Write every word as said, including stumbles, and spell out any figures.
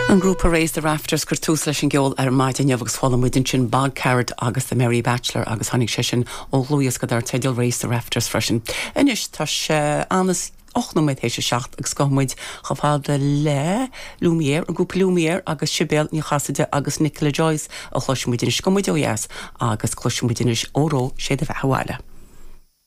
An grúpa Raise the Rafters chuir tús leis an gceol ar maidin agus chuala muid ansin Bog Carrot agus the Merry Bachelor agus tháinig sé sin ó dhlúthdhiosca dar teideal Raise the Rafters freisin. Anois tá sé anas ocht nóiméad théis a seacht agus gabhfaidh muid chomh fada le Lumière an grúpa Lumière agus Sibéal Ní Chasaide agus Nicola Joyce a chloisfimid anois go muid ó dheas agus cloisfimid anois Óró sé do bheatha 'bhaile.